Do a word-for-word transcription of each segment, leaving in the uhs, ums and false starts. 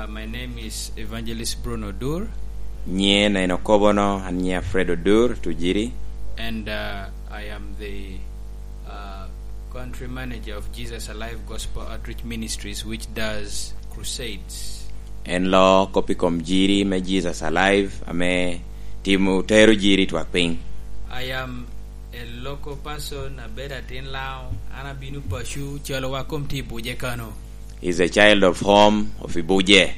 My name is Evangelist Bruno Dur. Nyiŋe en Okobono, an nyiŋa Fred Odur Tujiri. And, uh, I am the, uh, country manager of Jesus Alive Gospel Outreach Ministries, which does crusades. En loo kop i kom jiri me Jesus Alive, ame timo, tero jiri twak piny. I am a local person, abedo atin Laŋo, an abino paco, calo wa kom tye i Buje kano. Is a child of home of Ibuje.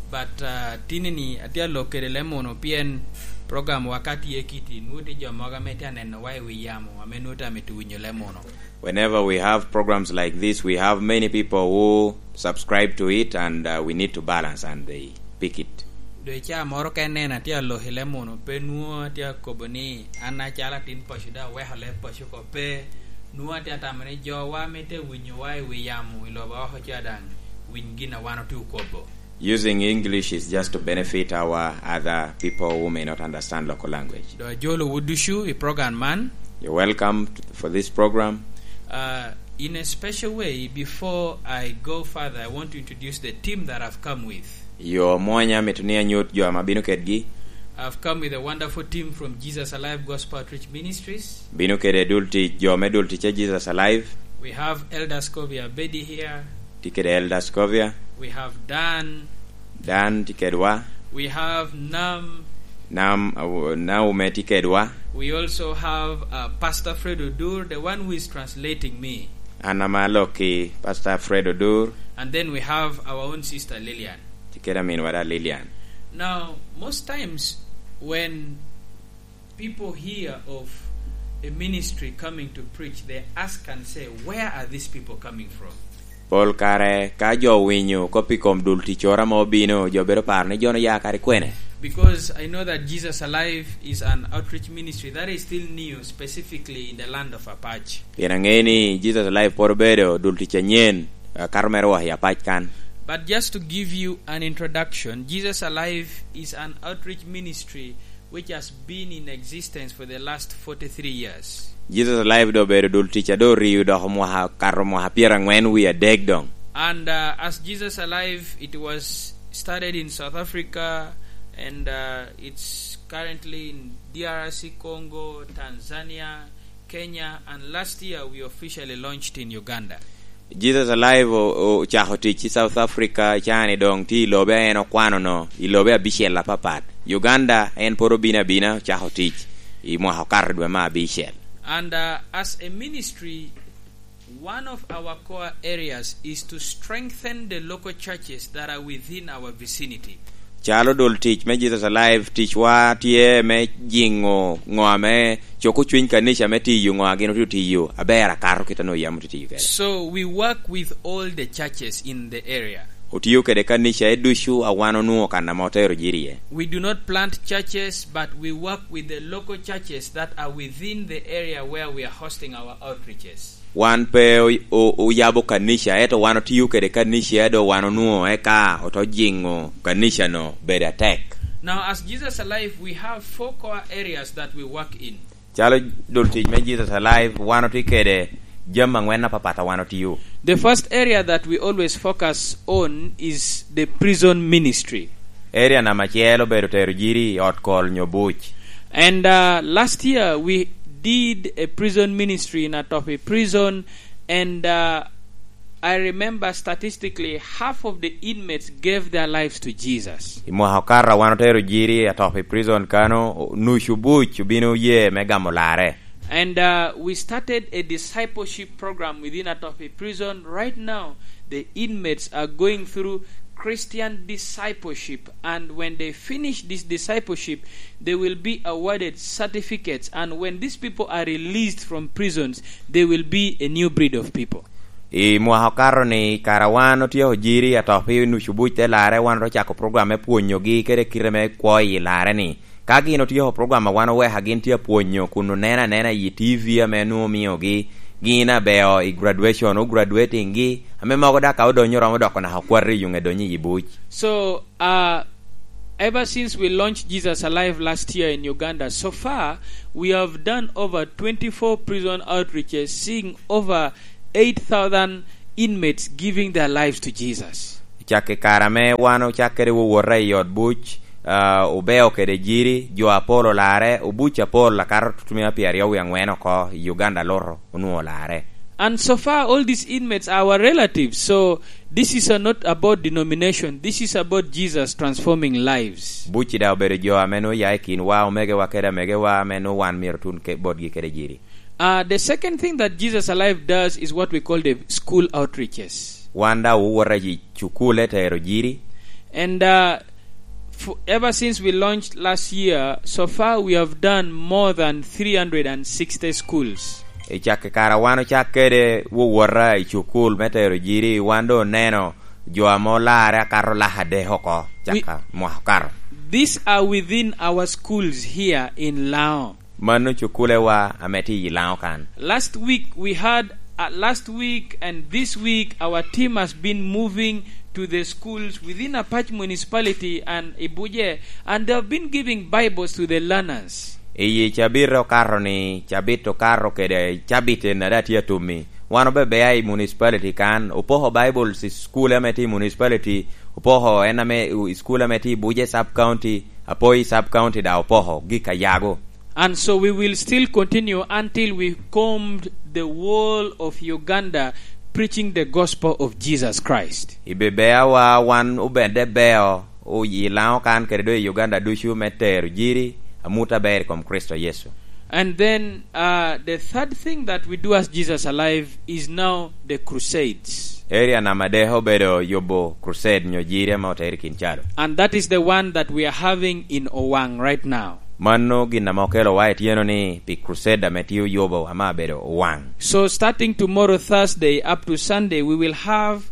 But, uh, tinni-ni atye alok kede Lemuno, pien program wa ka tye kiti, nwoŋo tye jo mogo ame tye anenowa i wi yamo, ame nwoŋo tye amito winyo Lemuno. Whenever we have programs like this, we have many people who subscribe to it, and, uh, we need to balance, and they pick it. Doŋ i caa moro ka ineno atye alok i Lemuno, pe nwoŋo atye akobo ni an acalo atin paco daŋ aweko leb paco oko, pe. Nwoŋo atye atamo ni jowa ame tye winyowa i wi yamo i lobo oko ca daŋ winy gin a wan otye okobo. Using English is just to benefit our other people who may not understand local language. Doŋ ajolowu ducu i program man. You're welcome to, for this program. Uh, in a special way, before I go further, I want to introduce the team that I've come with. Yo mwonya mito ni anyut jo ame abino kedgi. I've come with a wonderful team from Jesus Alive Gospel Outreach Ministries. Bino kede dul tic, jo me dul tic a Jesus Alive. We have Elder Scovia Bedi here. Tye kede Elder Scovia. We have Dan. Dan tye kedwa. We have Nam. Nam, uh, Naume tye kedwa. We also have, uh, Pastor Fred Odur, the one who is translating me. An ame alok ki Pastor Fred Odur. And then we have our own sister Lillian. Tye kede aminwa da Lillian. Now, most times when people hear of a ministry coming to preach, they ask and say, "Where are these people coming from?" Pol kare ka jo owinyo kop i kom dul ticcoro ame obino, jo bedo paro ni jo-nu ya kadi kwene. Because I know that Jesus Alive is an outreach ministry that is still new, specifically in the land of Apac. Pien aŋeo ni Jesus Alive pwod obedo dul tic anyen, akato mere wok i Apac kan. But just to give you an introduction, Jesus Alive is an outreach ministry which has been in existence for the last forty-three years. Jesus Alive doŋ obedo dul tic a doŋ orio dok mwaka, kato mwaka pyeraŋwen wie adek doŋ. And, uh, as Jesus Alive, it was started in South Africa, and, uh, it's currently in D R C Congo, Tanzania, Kenya, and last year we officially launched in Uganda. Jesus Alive o-, o-, ocako tic i South Africa, cani doŋ tye i lobe a en okwano-no, i lobe abicel apapat. Uganda, en pwod obino abina, ocako tic i mwaka okato dwe me abicel. And, uh, as a ministry, one of our core areas is to strengthen the local churches that are within our vicinity. Calo dul tic me Jesus Alive, ticwa tye me jiŋo ŋo ame coko cwiny kanica me tiyo, ŋo a gin otye tiyo aber akato kit a nwoŋo yam otye tiyo kede. So we work with all the churches in the area. Otio kede kanica e ducu a wan onwoŋo kan ame otero jiri iye. We do not plant churches, but we work with the local churches that are within the area where we are hosting our outreaches. Wan pe o-, o-, oyabo kanica, ento wan otio kede kanica, a doŋ wan onwoŋo eka oto jiŋo kanica-no bedo atek. Now, as Jesus Alive, we have four core areas that we work in. Calo dul tic me Jesus Alive, wan otye kede jami aŋwen apapat a wan otio. The first area that we always focus on is the prison ministry. Area namba acel obedo tero jiri i ot kol nyo buc. And, uh, last year we did a prison ministry in Atopi Prison, and, uh, I remember statistically half of the inmates gave their lives to Jesus. I mwaka okato wan otero jiri i Atopi Prison kano, nucu buc obino oye me gamo larre. And, uh, we started a discipleship program within Atopi Prison. Right now, the inmates are going through Christian discipleship, and when they finish this discipleship, they will be awarded certificates, and when these people are released from prisons, they will be a new breed of people. I mwaka okato-ni, kara wan otyeko jiri, Atopi nucu buc te larre, wan ocako program me pwonyogi kede kite me kwo i larre-ni. Ka gin otyeko program a wan oweka, gin tye apwonyo kun oneno anena i T V ame nwoŋo omiogi, gin abeo i graduation, o graduating-gi, ame mogo dak ka odonyo romo doko naka okwat i yuŋe donyo i buc. So, uh, ever since we launched Jesus Alive last year in Uganda, so far, we have done over twenty-four prison outreaches, seeing over eight thousand inmates giving their lives to Jesus. I Cak i kare ame wan ocakke kede wowota i ot buc, ah, obeo kede jiri, jo apol olarre, obuc apol akato tutumia pyeraryo wie aŋwen oko i Uganda luto onwoŋo olarre. And so far, all these inmates are our relatives. So this is a, not about denomination. This is about Jesus transforming lives. Buc-ci daŋ obedo jo ame nwoŋo oya i kinwa, omegowa kede amegowa, ame nwoŋo wan myero otun ke-, botgi kede jiri. Uh, the second thing that Jesus Alive does is what we call the school outreaches. Wan daŋ owota i cukule tero jiri. And, uh, f-, ever since we launched last year, so far we have done more than three hundred and sixty schools. I cak i kare wan ocak kede wowota i cukul me tero jiri, wan doŋ oneno jo ame olarre akato lak adek oko, caka mwaka okato. These are within our schools here in Lao. Mano cukulewa ame tye i Laŋo kan. Last week we had, uh, last week and this week our team has been moving to the schools within Apac Municipality and Ibuje, and they have been giving Bibles to the learners. I cabit okato ni, cabit okato kede cabit en a daŋ tye atummi. Wan obebea i municipality kan, opoko Bibles i school ame tye i municipality, opoko en ame, i school ame tye i Ibuje sub county, Apoi sub county daŋ opoko gik a yago. And so we will still continue until we combed the whole of Uganda preaching the gospel of Jesus Christ. I bebeawa wan obedde beo, o-, i Laŋo kan kede doŋ i Uganda ducu me tero jiri amut aber i kom Kricito Yecu. And then, uh, the third thing that we do as Jesus Alive is now the crusades. Area namba adek obedo yubo crusade nyo jiri ame otero i Kincalu. And that is the one that we are having in Owang right now. Mano gin ame okelowa i tyeno ni pi crusade ame tye oyubo ame abedo Owang. So starting tomorrow, Thursday, up to Sunday, we will have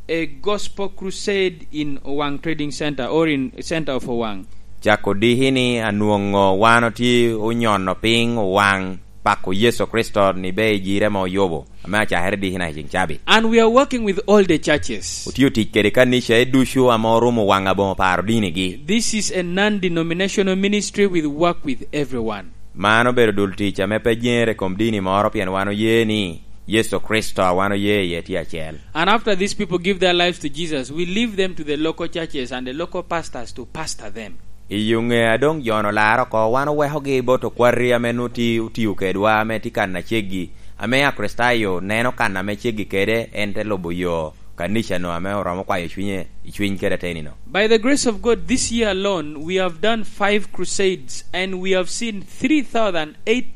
a gospel crusade in Owang Trading Center or in center of Owang. Cako diki ni anwoŋo wan otye onyono piny Owang, pako Yecu Kricito ni be i jiri ame oyubo, ame acakere diki naka i ceŋ cabit. And we are working with all the churches. Otye otic kede kanica e ducu ame orumo Owang aboŋo paro dinigi. This is a non-denominational ministry. We work with everyone. Man obedo dul tic ame pe jeŋere i kom dini moro, pien wan oye ni Yecu Kricito a wan oye iye tye acel. And after these people give their lives to Jesus, we leave them to the local churches and the local pastors to pastor them. I yo ŋe a doŋ jo-nu olarre oko, wan owekogi bot okwati ame nwoŋo tye otio kedwa, ame tye kan aceggi, ame Akricitayo neno kan ame ceggi kede, en te lubo yo kanica-nu ame oromo kwayo cwinye i cwiny kede ateni-nu. By the grace of God, this year alone, we have done five crusades and we have seen three thousand eight,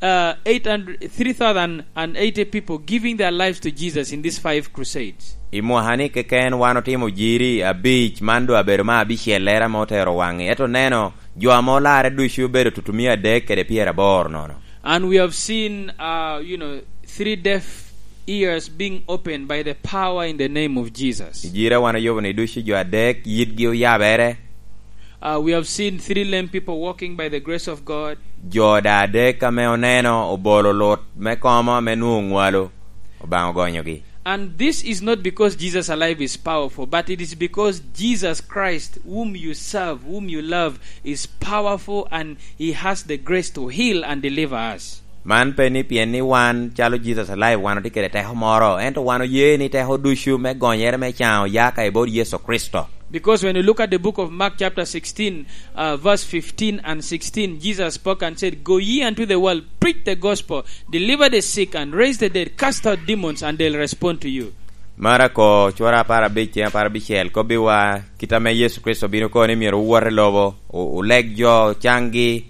uh, eight hundred, three thousand and eighty people giving their lives to Jesus in these five crusades. I mwaka-ni keken wan otimo jiri abic, man doŋ abedo me abicellere ame otero Owang-ŋi. Ento neno, jo ame olarre ducu obedo tutumia adek kede pyeraboro nono. And we have seen, uh, you know, three deaf ears being opened by the power in the name of Jesus. I jiri a wan oyubo-ni ducu jo adek yitgi oyabere. Uh, we have seen three lame people walking by the grace of God. Jo daŋ adek ame oneno obolo lut me komo ame nwoŋo oŋwalo, Obaŋa ogonyogi. And this is not because Jesus Alive is powerful, but it is because Jesus Christ, whom you serve, whom you love, is powerful and he has the grace to heal and deliver us. Man pe ni pien ni wan calo Jesus Alive wan otye kede teko moro, ento wan oye ni teko ducu me gonyere me can oya ka i bot Yecu Kricito. Because when you look at the book of Mark chapter sixteen, uh, verse fifteen and sixteen, Jesus spoke and said, "Go ye unto the world, preach the gospel, deliver the sick and raise the dead, cast out demons and they'll respond to you." Marako cura apar abic, ceng apar abicel, kobbiwa kit ame Yecu Kricito obino kono ni myero owot i lobo, o-, oleg jo caŋgi,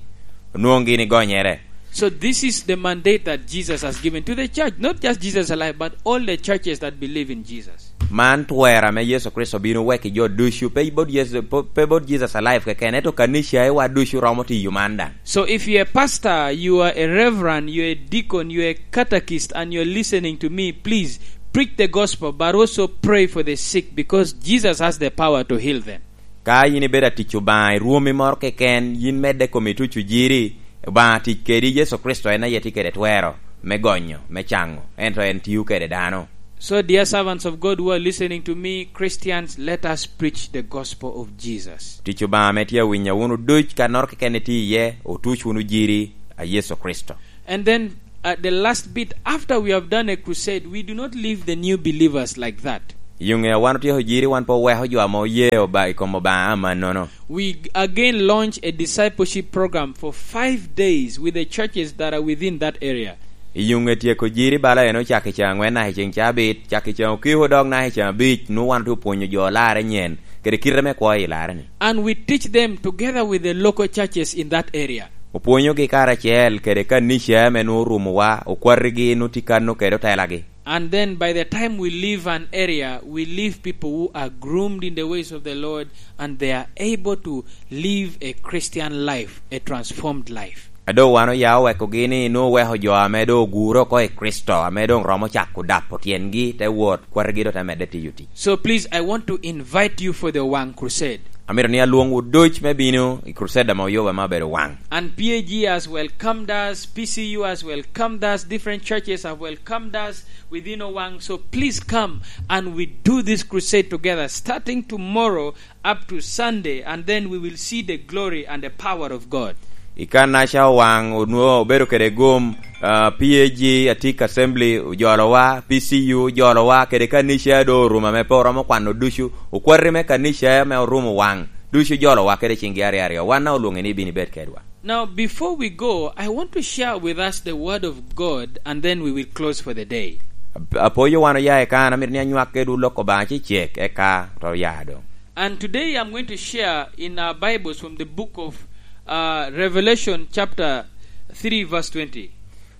onwoŋ gin i gonyere. So this is the mandate that Jesus has given to the church, not just Jesus Alive, but all the churches that believe in Jesus. Man twero ame Yecu Kricito bino weko i jo ducu, pe bot Yecu, pe, pe bot Jesus Alive keken, ento kanica i wa ducu romo tiyo man daŋ. So if you're a pastor, you are a reverend, you're a deacon, you're a catechist, and you're listening to me, please preach the gospel, but also pray for the sick, because Jesus has the power to heal them. Ka yin ibedo atic Obaŋa i rwomi moro keken, yin medde kom ituco jiri, Obaŋa tic kedi, Yecu Kricito en aye tye kede twero me gonyo, me caŋo, ento en tio kede dano. So, dear servants of God who are listening to me, Christians, let us preach the gospel of Jesus. Tic Obaŋa ame tye awinyo wunu duc, kannoro keken itye iye, otuc wunu jiri a Yecu Kricito. And then, uh, the last bit, after we have done a crusade, we do not leave the new believers like that. I yo ŋe wan otyeko jiri, wan pe oweko jo ame oye Oba-, i kom Obaŋa amannono. We again launch a discipleship program for five days with the churches that are within that area. I yo ŋe tyeko jiri bala en ocak i ceŋ aŋwen naka i ceŋ cabit, cak i ceŋ okiko dok naka i ceŋ abic, nwoŋo wan otye opwonyo jo olarre nyen, kede kite me kwo i larre-ni. And we teach them together with the local churches in that area. Opwonyogi karacel kede kanica ame nwoŋo orumowa, okwatigi nwoŋo tye kan kede otelagi. And then by the time we leave an area, we leave people who are groomed in the ways of the Lord and they are able to live a Christian life, a transformed life. A doŋ wan oya owekogi ni nwoŋo oweko jo ame doŋ ogure oko i Kricito, ame doŋ romo cako dapo tyengi, te wot, kwatigi doŋ te medde tiyo tic. So please, I want to invite you for the Wang Crusade. Amito ni alwoŋwu duc me bino i crusade ame oyuba me obedo Wang. And P A G has welcomed us, P C U has welcomed us, different churches have welcomed us within Owang. So please come and we do this crusade together, starting tomorrow up to Sunday, and then we will see the glory and the power of God. I kan-naca Owang onwoŋo obedo kede gum, ah, P A G, Atik Assembly ojolowa, P C U ojolowa, kede kanica a doŋ orumo ame pe oromo kwano ducu, okwati me kanica ame orumo Owang, ducu ojolowa kede ciŋgi aryo aryo. Wan daŋ olwoŋi ni ibin ibed kedwa. Now, before we go, I want to share with us the word of God, and then we will close for the day. Ap-, apoyo wan oya i kan, amito ni anywak kedwu lok Obaŋa cecek, eka to oya doŋ. And today I'm going to share in our Bibles from the book of, uh, Revelation chapter three verse twenty.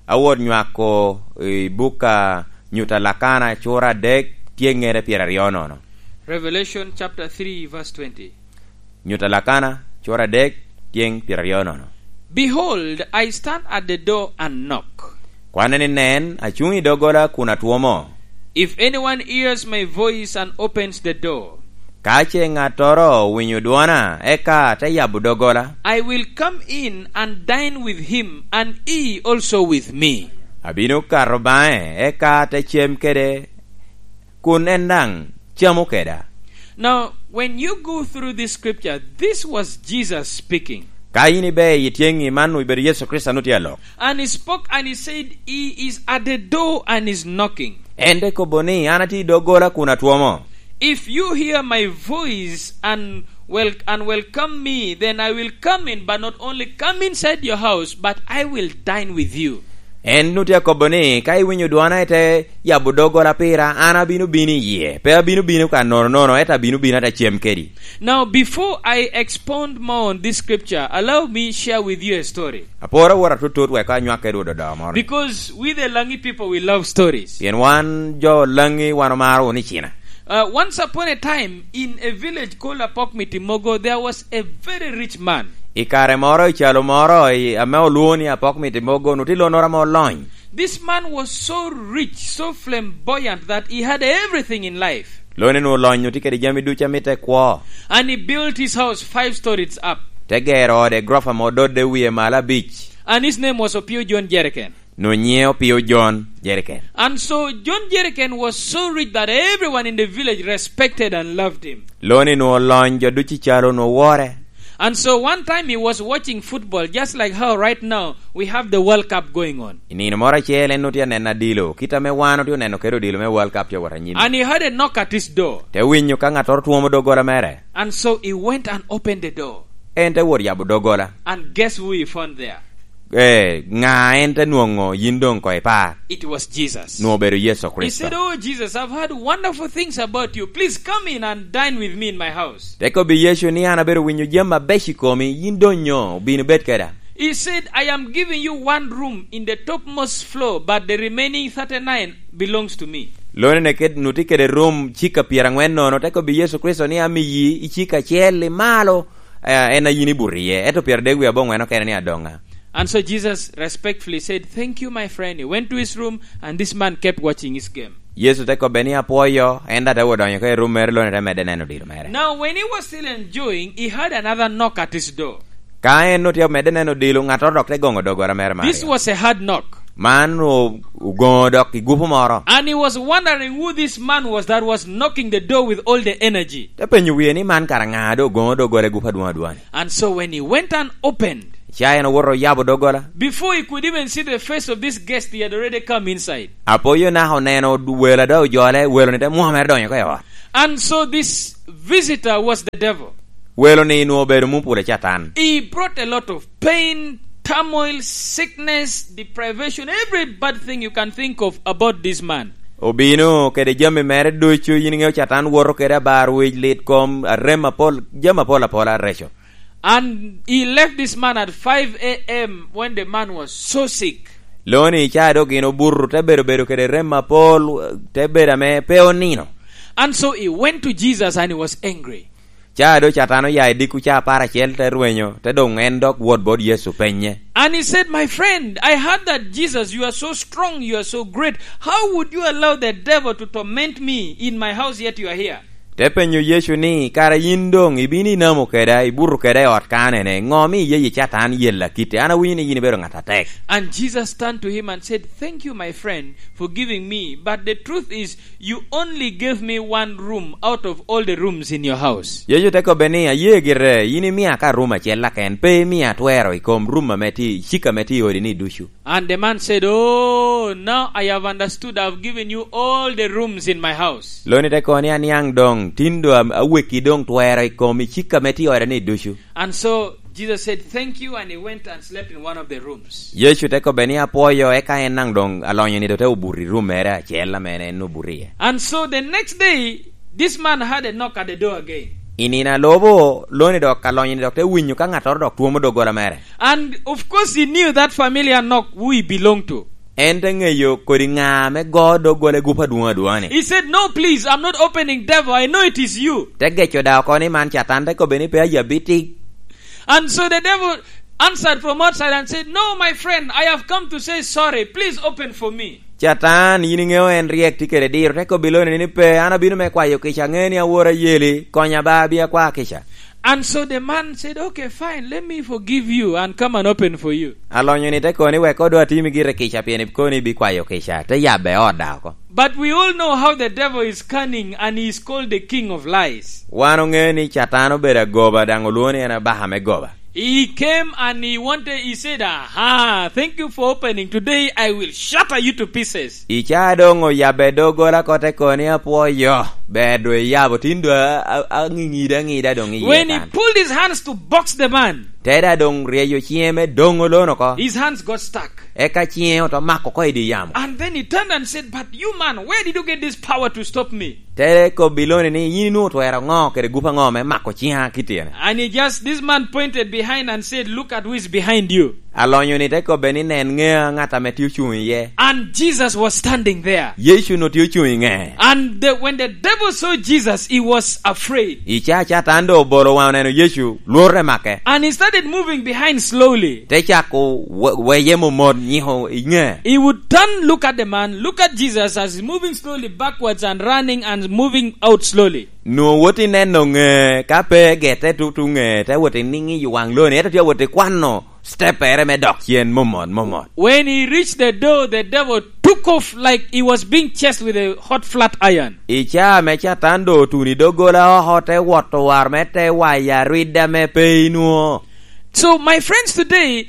Awot nywako i buk a Nyuta Lakana cura adek, tyeŋŋere pyeraryo nono. Revelation chapter three verse twenty. Nyuta Lakana cura adek, tyeŋ pyeraryo nono. Behold, I stand at the door and knock. Kwanne ni, nen, acuŋ i doggola kun atwomo. If anyone hears my voice and opens the door, ka ce ŋattoro owinyo dwona, eka te yabo doggola, I will come in and dine with him, and he also with me. Abino kato baŋe, eka te cem kede, kun en daŋ camo keda. Now, when you go through this scripture, this was Jesus speaking. Ka in ibe i tyeŋi, man obedo Yecu Kricito ame tye alok. And he spoke and he said, "He is at the door and is knocking." En te kobo ni, "An atye i doggola kun atwomo." If you hear my voice and wel-, and welcome me, then I will come in, but not only come inside your house, but I will dine with you. En nwoŋo tye akobo ni, "Ka iwinyo dwona, ite yabo doggola pira, an abino bino i yie. Pe abino bino ka nono nono, ento abino bino ate cem kedi." Now, before I expound more on this scripture, allow me share with you a story. Aporo awot atutut wek anywak kedwu dodo moro. Because we the Langi people, we love stories. Pien wan jo Langi, wan omaro wunu icina. Uh, once upon a time, in a village called Apok Mitimogo, there was a very rich man. I kare moro, i calo moro, i, ame olwoŋo ni Apok Mitimogo, nwoŋo tye lonnoro ame olony. This man was so rich, so flamboyant that he had everything in life. Lone nwoŋo olony, nwoŋo tye kede jami ducu a mitte kwo. And he built his house five stories up. Te gero ode gorofa ame ododde wie malo abic. And his name was Opio John Jerrycan. Nwoŋo nyiŋe Opio John Jerrycan. And so John Jerrycan was so rich that everyone in the village respected and loved him. Lone nwoŋo olony, jo ducu i calo nwoŋo wore. And so one time he was watching football, just like how right now we have the World Cup going on. I nino moro acel en nwoŋo tye aneno adilo, kit ame wan otye oneno kede odilo me World Cup tye wot anyim. And he heard a knock at his door. Te winyo ka ŋattoro twomo doggola mere. And so he went and opened the door. En te wot yabo doggola. And guess who he found there? Eh, ŋa en te nwoŋo yin doŋ ko ipar? It was Jesus. Nwoŋo obedo Yecu Kricito. He said, "Oh, Jesus, I've heard wonderful things about you. Please come in and dine with me in my house." Te kobbi Yecu ni, "An abedo winyo jami abeco i komi, yin doŋ nyo, bin ibed keda." He said, "I am giving you one room in the topmost floor, but the remaining thirty-nine belongs to me." Lone ne ked-, nwoŋo tye kede rum cika pyeraŋwen nono, te kobbi Yecu Kricito ni, "Amiyi i cika acel i malo, eh, en a yin ibuto iye, ento pyeradek wie aboŋwen okene ni adoŋa." And so Jesus respectfully said, "Thank you, my friend." He went to his room, and this man kept watching his game. Yecu te kobbe ni, "Apwoyo," en daŋ te wot donyo oko i rum mere, lone te medde neno odilo mere. Now, when he was still enjoying, he heard another knock at his door. Ka en nwoŋo tye omedde neno odilo, ŋattoro dok te goŋo doggola mere, Mario. This was a hard knock. Man o-, ogoŋo dok i gupu moro. And he was wondering who this man was that was knocking the door with all the energy. Te penyo wie ni, "Man kara ŋa doŋ ogoŋo doggola i gupu adwoŋ adwoŋ-ni?" And so when he went and opened, ca en owoto oyabo doggola. Before he could even see the face of this guest, he had already come inside. Apoyo naka oneno welo a doŋ ojole, welo-ni te mwomere donyo oko i ot. And so this visitor was the devil. Welo ni nwoŋo obedo mupula Catan. He brought a lot of pain, turmoil, sickness, deprivation, every bad thing you can think of about this man. Obino kede jami mere ducu, yin iŋeo Catan woto kede abar wic, lit kom, arem apol, jami apol apola areco. And he left this man at five a m when the man was so sick. Loni ca dok gin obuto, te bedo bedo kede rem apol, te bedo ame pe onino. And so he went to Jesus and he was angry. Ca do Catan oya i dikku ca apar acel, te rwenyo, te doŋ en dok wot bot Yecu penye. And he said, "My friend, I heard that Jesus, you are so strong, you are so great. How would you allow the devil to torment me in my house, yet you are here?" Te penyo Yecu ni, "Kara yin doŋ ibino inamo keda, ibuto keda i ot kanene? Ŋo mi iye yi Catan yella kite? An awinyo ni yin ibedo ŋat atek." And Jesus turned to him and said, "Thank you, my friend, for giving me. But the truth is, you only gave me one room out of all the rooms in your house." Yecu te kobbe ni, "Aye gire, yin imia ka rum acel aken, pe imia twero i kom rum ame tye, cik ame tye i odi ni ducu." And the man said, "Oh, now I have understood. I've given you all the rooms in my house." Loni te kono ni, "Aniaŋ doŋ, tin do am-, aweki doŋ twero i kom i cik ame tye i oda ni ducu." And so Jesus said, "Thank you," and he went and slept in one of the rooms. Yecu te kobbe ni, "Apwoyo," eka en naŋ doŋ alonyo ni do te obuto i rum mere acel ame en obuto iye. And so the next day, this man had a knock at the door again. I nino a lubo, loni dok alonyo ni dok te winyo ka ŋattoro dok twomo doggola mere. And of course, he knew that familiar knock who he belonged to. En te ŋeyo kodi ŋa ame go doggola i gup adwoŋ adwoŋa-ni. He said, "No, please, I'm not opening, devil. I know it is you." Te geco da oko ni man Catan, te kobbe ni, "Pe aye abitic." And so the devil answered from outside and said, "No, my friend, I have come to say sorry. Please open for me." Catan, yin iŋeo en ryek tye kede diro, te kobbi loni ni, "Pe, an abino me kwayo kica, aŋeo ni awor ayeli, konya ba, abia kwa kica." And so the man said, "Okay, fine, let me forgive you and come and open for you." Alonyo ni te kono ni, "Wek kodo atimi gire kica, pien ikono ibikwayo kica." Te yabbe ot da oko. But we all know how the devil is cunning and he is called the king of lies. Wan oŋeo ni Catan obedo agoba, daŋ olwoŋo ni en abaka me goba. He came and he wanted, he said, "Aha, thank you for opening. Today I will shatter you to pieces." I ca doŋ oyabbe doggola oko te kono ni, "Apwoyo, ber do iyabo, tin do a-, a-, aŋiŋida aŋida doŋ iye kan." When he pulled his hands to box the man, te da doŋ ryeyo ciŋe me doŋo lon oko. His hands got stuck. Eka ciŋe oto mako oko i dye yamo. And then he turned and said, "But you man, where did you get this power to stop me?" Te kobbi loni ni, "Yin inwoŋo twero ŋo kede gup aŋo me mako ciŋa kite-ni?" And he just, this man pointed behind and said, "Look at who is behind you." Alonyo ni te kobbe ni, "Nen ŋea ŋat ame tye ocuŋ iye." And Jesus was standing there. Yecu onwoŋo tye ocuŋ i ŋee. And the, when the devil saw Jesus, he was afraid. I ca Catan doŋ obolo waŋe oneno Yecu, lworo te make. And he started moving behind slowly. Te cako we-, weye momot nyiko i ŋee. He would turn, look at the man, look at Jesus as he's moving slowly backwards and running and moving out slowly. Nwoŋo wot i neno ŋee, ka pe gete tutu ŋee, te wot i niŋo i waŋ loni, ento tye wot i kwano stepere me dok cen momot, momot. When he reached the door, the devil took off like he was being chased with a hot flat iron. I caa ame Catan doŋ otuno i doggola oko, te wot owaro me te wayo arwidda me pe inwoŋo. So, my friends, today,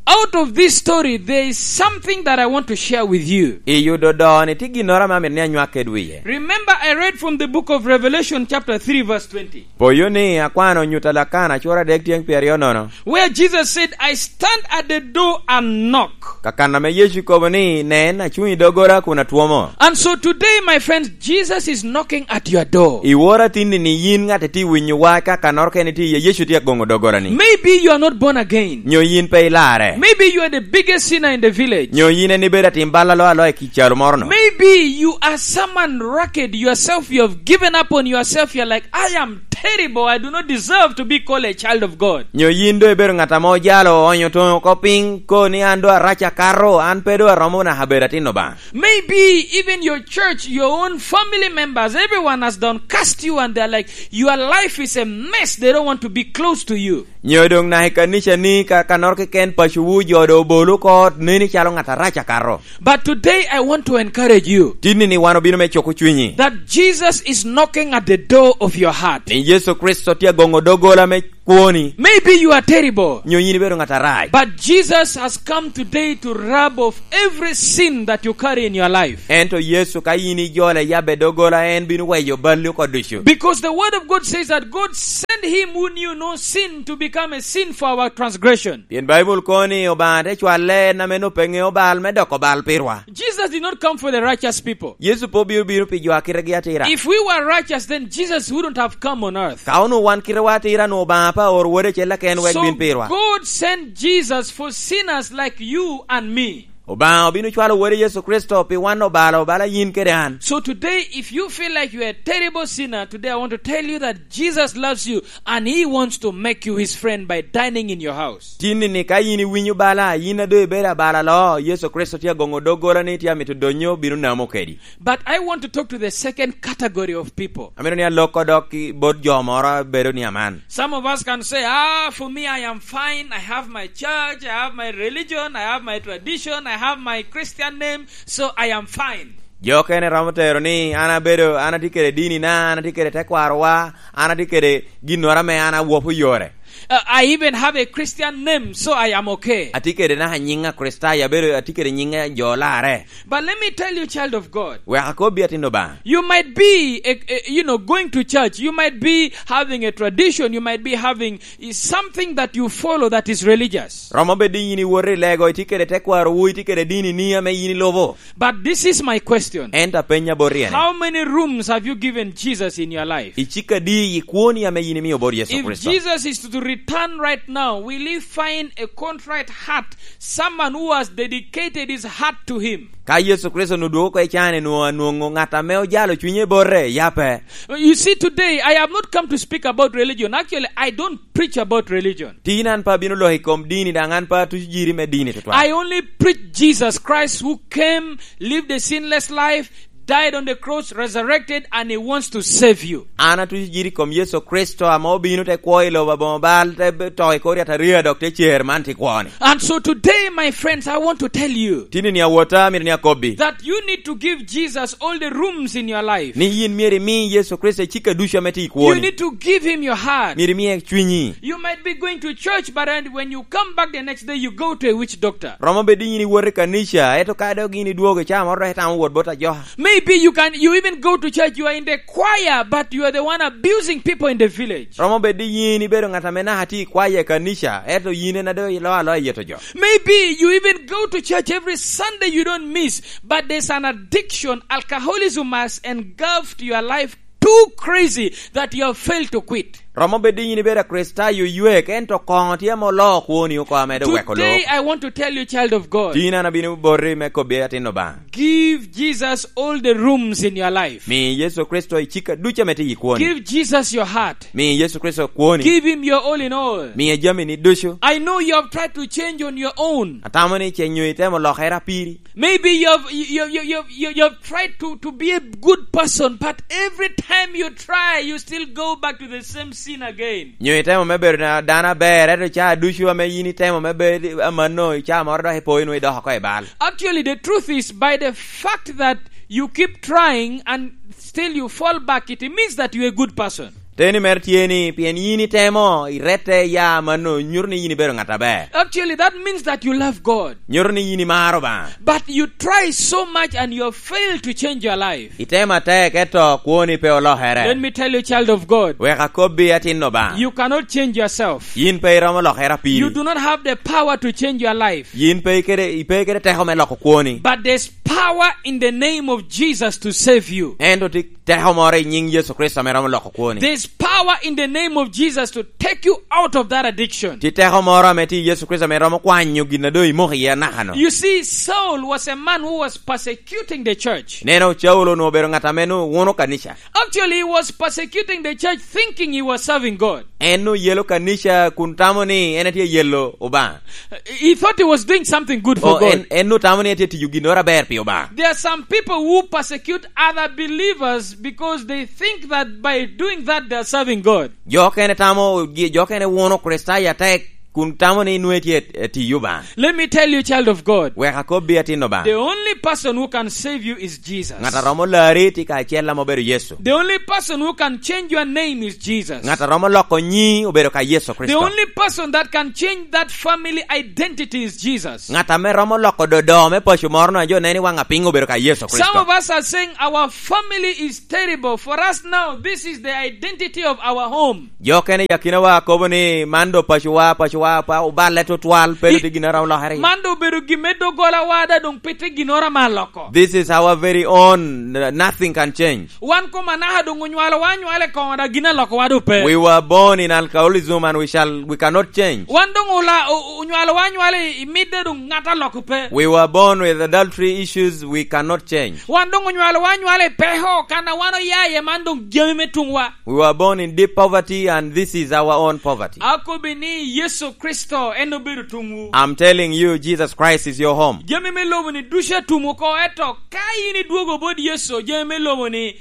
out of this story, there is something that I want to share with you. I yudo doo-ni tye ginnoro ame amito ni anywak kede wiye. Remember, I read from the book of Revelation chapter three, verse twenty. Poyo ni akwano nyut a Lakana cura adek tyeŋ pyeraryo nono. Where Jesus said, "I stand at the door and knock." Ka kan ame Yecu kobo ni, "Nen, acuŋ i doggola kun atwomo." And so today, my friends, Jesus is knocking at your door. I wora tinni ni yin ŋat itye winyo wa ka kannoro kene tye iye, Yecu tye agoŋo doggolani. Maybe you are not born again. Nyo yin pe ilarre. Maybe you are the biggest sinner in the village. Nyo yin en ibedo atim bal alo alo i calo moro no. Maybe you are someone rugged yourself. You have given up on yourself. You're like, "I am terrible. I do not deserve to be called a child of God." Nyo yin do ibedo ŋat ame ojalo, oonyo toŋo oko piny, ko ni, "An do arac akato, an pe do aromo naka bedo atin Obaŋa." Maybe even your church, your own family members, everyone has done cast you and they're like, "Your life is a mess." They don't want to be close to you. Nyo doŋ naka i kanicani, ka, kannoro keken pacowu, jo do obolo oko ot, neni calo ŋat arac akato. But today I want to encourage you. Tinni ni wan obino me cuko cwinyi. That Jesus is knocking at the door of your heart. Ni Yecu Kricito tye agoŋo doggola me kwoni. Maybe you are terrible. Nyo yin ibedo ŋat arac. But Jesus has come today to rub off every sin that you carry in your life. Ento Yecu ka yin ijole yabbe doggola, en bino weyo balli oko ducu. Because the word of God says that God sent him who knew no sin to become a sin for our transgression. Pien Baibul kono ni Obaŋa te cwalle en ame nop pe ŋeo bal me doko bal pirwa. Jesus did not come for the righteous people. Yecu pe obino bino pi jo a kitegi atira. If we were righteous, then Jesus wouldn't have come on earth. Ka onwoŋo wan kitewa atira, onwoŋo Obaŋa pe aoro Wode acel keken wek bin pirwa. So God sent Jesus for sinners like you and me. Obaŋa obino cwalo Wode Yecu Kricito pi wan obalo, obalo yin kede an. So today, if you feel like you are a terrible sinner, today I want to tell you that Jesus loves you and he wants to make you his friend by dining in your house. Tin-ni ka yin iwinyo bala, yin a doŋ ibedo abala lo, Yecu Kricito tye agoŋo doggola ni tye amito donyo bino namo kedi. But I want to talk to the second category of people. Amito ni alok odok i bot jo moro a bedo ni aman. Some of us can say, "Ah, for me, I am fine. I have my church, I have my religion, I have my tradition, I have my Christian name, so I am fine." Jo okene romo tero ni, "An abedo, an atye kede dinina, an atye kede tekwarowa, an atye kede ginnoro ame an awopo yore." Uh, "I even have a Christian name, so I am okay." Atye kede naka nyiŋ Akricitayo, abedo, atye kede nyiŋ a jo olarre. But let me tell you, child of God. Wek akobbi, atin Obaŋa. You might be, a, a, you know, going to church. You might be having a tradition. You might be having, is something that you follow that is religious. Romo bedo ni yin iwoto i lego, itye kede tekwarowu, itye kede dinini ame yin ilubo. But this is my question. Ento apenya boti ene. How many rooms have you given Jesus in your life? Icik adi i kwoni ame yin imio bot Yecu Kricito? If Jesus is to return right now, will he find a contrite heart, someone who has dedicated his heart to him? Ka Yecu Kricito onwoŋo dwogo oko i can, onwoŋo anwoŋo ŋat ame ojalo cwinye bote, ya pe? You see, today, I have not come to speak about religion. Actually, I don't preach about religion. Tin an pe abino lok i kom dini, daŋ an pe atuco jiri me dini tutwal. I only preach Jesus Christ who came, lived a sinless life, died on the cross, resurrected, and he wants to save you. An atuco jiri i kom Yecu Kricito ame obino te kwo i lobo aboŋo bal, te be-, to i kor yataria, dok te cer man tye kwone. And so today, my friends, I want to tell you Tin-ni awotta, amito ni akobbi that you need to give Jesus all the rooms in your life. Ni yin myero imi Yecu Kricito icika ducu ame tye i kwoni. You need to give him your heart. Myero imiye cwinyi. You might be going to church, but when, when you come back the next day, you go to a witch doctor. Romo bedo ni yin iwoto i kanica, ento ka dok yin idwogo i caa moro dok itamo wot bot ajoka. Maybe you can, you even go to church, you are in the choir, but you are the one abusing people in the village. Romo bedo ni yin ibedo ŋat ame naka tye i kwaya i kanica, ento yin en a doŋ ilo aloya yeto jo. Maybe you even go to church every Sunday, you don't miss, but there's an addiction, alcoholism has engulfed your life too crazy that you have failed to quit. Romo bedo ni yin ibedo Akricitayo oywek, ento koŋo tye ame oloo kwoni oko ame doŋ weko loo. Today, I want to tell you, child of God, Tin an abino boti me kobbi, atin Obaŋa. Give Jesus all the rooms in your life. Mi Yecu Kricito icika ducu ame tye i kwoni. Give Jesus your heart. Mi Yecu Kricito kwoni. Give him your all in all. Miye jamini ducu. I know you have tried to change on your own. Atamo ni ce nyo itemo lokere apiri. Maybe you have, you, you, you, you, you, you have tried to, to be a good person, but every time you try, you still go back to the same sin again. Nyo itemo me bedo na-, dano aber, ento caa ducu ame yin itemo me bedo amanno, i caa moro dok ipo, inwoŋo idok oko i bal. Actually, the truth is, by the fact that you keep trying and still you fall back, it means that you're a good person. Teni mere tye ni, pien yin itemo, irette, ya amanno, nyuto ni yin ibedo ŋat aber. Actually, that means that you love God. Nyuto ni yin imaro Obaŋa. But you try so much and you have failed to change your life. Itemo atek, ento kwoni pe olokere. Let me tell you, child of God. Wek akobbi, atin Obaŋa. You cannot change yourself. Yin pe iromo lokere apiri. You do not have the power to change your life. Yin pe ikede, ipe kede teko me loko kwoni. But there's power in the name of Jesus to save you. Ento tye teko moro i nyiŋ Yecu Kricito ame romo loko kwoni. There's power in the name of Jesus to take you out of that addiction. Tye teko moro ame tye i Yecu Kricito ame romo kwanyo gin a doŋ imoko iye anaka-nu. You see, Saul was a man who was persecuting the church. Neno, Caulo onwoŋo obedo ŋat ame nwoŋo wuno kanica. Actually, he was persecuting the church thinking he was serving God. En nwoŋo yelo kanica kun tamo ni en tye yelo Obaŋa. He thought he was doing something good for God. O, en, en nwoŋo tamo ni en tye tiyo ginnoro aber pi Obaŋa. There are some people who persecute other believers because they think that by doing that they are serving God. Jo okene tamo, jo okene wuno Kricitayo atek kun tamo ni nwoŋo itye e tiyo Obaŋa. Let me tell you, child of God. Wek akobbi, atin Obaŋa. The only person who can save you is Jesus. Ŋat a romo lari tye kacel ame obedo Yecu. The only person who can change your name is Jesus. Ŋat a romo loko nyi obedo ka Yecu Kricito. The only person that can change that family identity is Jesus. Ŋat ame romo loko dodo me paco moro na jo neno i waŋ apiny obedo ka Yecu Kricito. Some of us are saying our family is terrible. For us now, this is the identity of our home. Jo okene i akinawa kobo ni, "Man do pacowa, pacowa, pa oballe tutwal, pe tye gin a romo lokere." Man do obedo gin me doggolawa, da doŋ pe tye ginnoro ame aloko. This is our very own, n-, nothing can change. Wan kom anaka doŋ onywalowa anywala i koŋo, da gin alokowa doŋ pe. We were born in alcoholism and we shall, we cannot change. Wan doŋ ola-, o-, o-, onywalowa anywala i, i mit, da doŋ ŋat aloko pe. We were born with adultery issues, we cannot change. Wan doŋ onywalowa anywala i peko, kan a wan oya iye man doŋ jami me tuŋwa. We were born in deep poverty, and this is our own poverty. Akobbi ni Yecu Kricito en obedo tuŋwu. I'm telling you, Jesus Christ is your home. Jami me lobo ni ducu atum oko, eto ka in idwogo bot Yecu, jami me lobo ni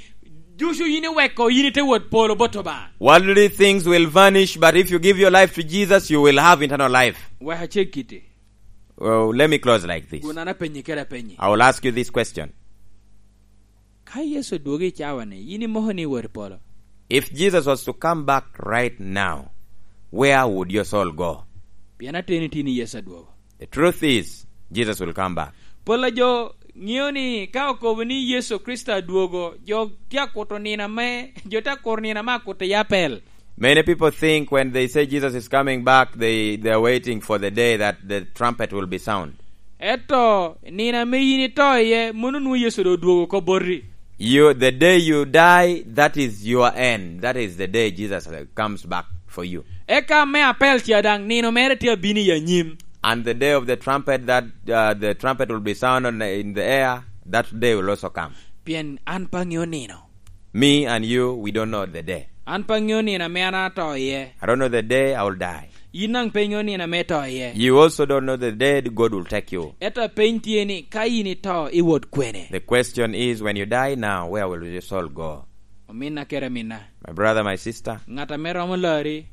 ducu in iweko, in ite wot polo bot Obaŋa. Worldly things will vanish, but if you give your life to Jesus, you will have eternal life. Wek aceg kiti. Well, let me close like this. Gun an apenyi kede apenyi. I will ask you this question. Ka Yecu odwogo i cawa-ni, yin imoko ni iwot i polo? If Jesus was to come back right now, where would your soul go? Pien ateni tye ni Yecu adwogo. The truth is, Jesus will come back. Pol a jo ŋeo ni ka okobo ni Yecu Kricito adwogo, jo tye akuto nino ame, jo tye akuro nino ame akuto i apel. Many people think when they say Jesus is coming back, they, they are waiting for the day that the trumpet will be sound. Eto, nino ame yin ito iye, mono nwoŋo Yecu doŋ odwogo oko boti. You, the day you die, that is your end. That is the day Jesus, uh, comes back for you. Eka me apel ca daŋ, nino mere tye abino i anyim. And the day of the trumpet, that, uh, the trumpet will be sound on the, in the air, that day will also come. Pien an pe aŋeo nino. Me and you, we don't know the day. An pe aŋeo nino ame an ato iye. I don't know the day I will die. Yin daŋ pe iŋeo nino ame ito iye. You also don't know the day God will take you. Ento apeny tye ni, ka yin ito, iwot kwene? The question is, when you die now, where will your soul go? Ominna kede aminna. My brother, my sister. Ŋat ame romo lari.